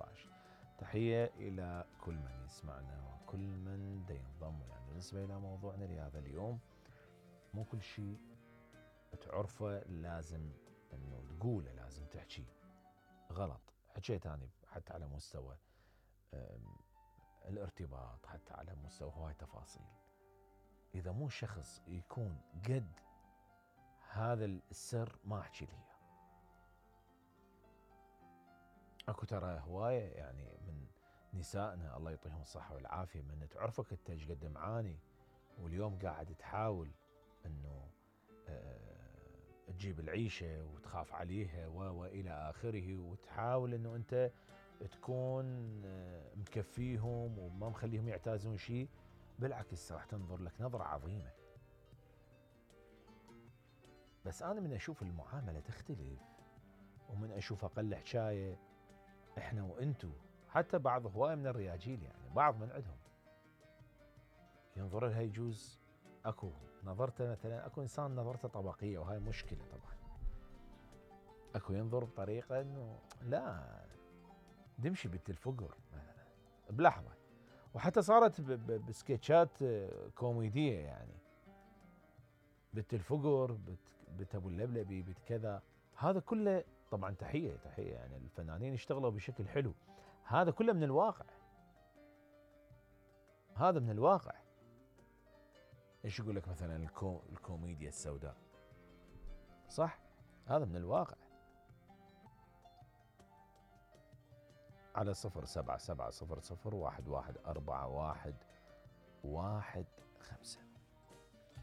2015. تحية إلى كل من يسمعنا وكل من ينضم. يعني بالنسبة إلى موضوعنا لهذا اليوم، مو كل شيء تعرفه لازم أنه تقوله، لازم تحكي. غلط. حكيت أنا حتى على مستوى الارتباط، حتى على مستوى هواي تفاصيل. إذا مو شخص يكون قد هذا السر ما أحكي ليه. اكو ترى هواية يعني من نسائنا الله يعطيهم الصحة والعافية، من تعرفك انت ايش قد معاني واليوم قاعد تحاول انه تجيب العيشة وتخاف عليها والى اخره، وتحاول انه انت تكون مكفيهم وما مخليهم يعتازون شيء. بالعكس راح تنظر لك نظرة عظيمة. بس انا من اشوف المعاملة تختلف، ومن اشوف اقل حكاية احنا وانتو، حتى بعض هواي من الرياجيل يعني بعض من عندهم ينظر لها يجوز اكو نظرته، مثلا اكو انسان نظرته طبقية وهاي مشكلة طبعا. اكو ينظر بطريقة انه لا دمشي بنت الفقر مثلا بلحظة، وحتى صارت بسكتشات كوميدية يعني بنت الفقر، بنت ابو اللبلبي، بنت كذا. هذا كله طبعا تحية يعني الفنانين اشتغلوا بشكل حلو. هذا كله من الواقع، هذا من الواقع. ايش يقول لك مثلا الكوميديا السوداء، صح؟ هذا من الواقع. على 07700114115